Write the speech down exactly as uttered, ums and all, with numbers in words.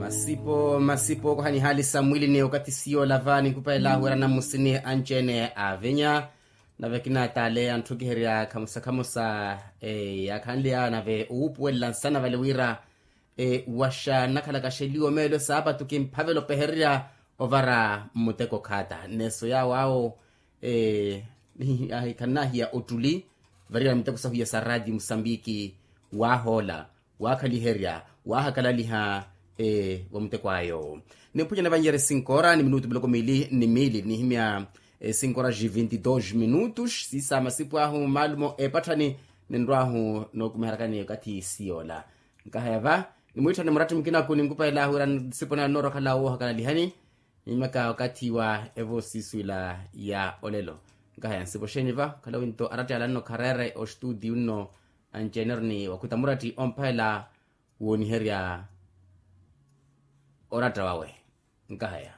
Masipo masipo okoha nihaali sa mwilini okathi siyo olava ninkupa elaahu era namusini anci-ene aavenya. Nave kinaataale anthukiherya khamusa-khamusa yaakhanleya nave owuupuwelela nsana vale wira waxa nnakhalaka xeliwa meelo saapatu kimphavela opehererya ovara mmuteko khaata nneeso yaawo awo. Khannahiya ottuli variyana miteko sahu iya sa raatiyo musambiki waahoola waakhaliherya waahakalaliha wa muteko ayo. Nimphunyana vannyere sinkoora ni minutu miloko miili ni miili nihimya sinkoora ji vinti dos minutus siisa masipu ahu maalumo epatthani ninrw'ahu nookumiharakani okathi siyoola. Nkahaya va nimwiitthane muratti mukinaku ninkupa elaahu wira nsipo naya nnoorokhalawo woohakalalihani. Nimaka okathi wa evoosiswila ya olelo. Nkahaya nsipo xeeni va okhala winto aratti alanno khareere oxtuutiyu nno anci-ene ori ni wakhuta muratti omphalela wooniherya oratta wawe. Nkahaya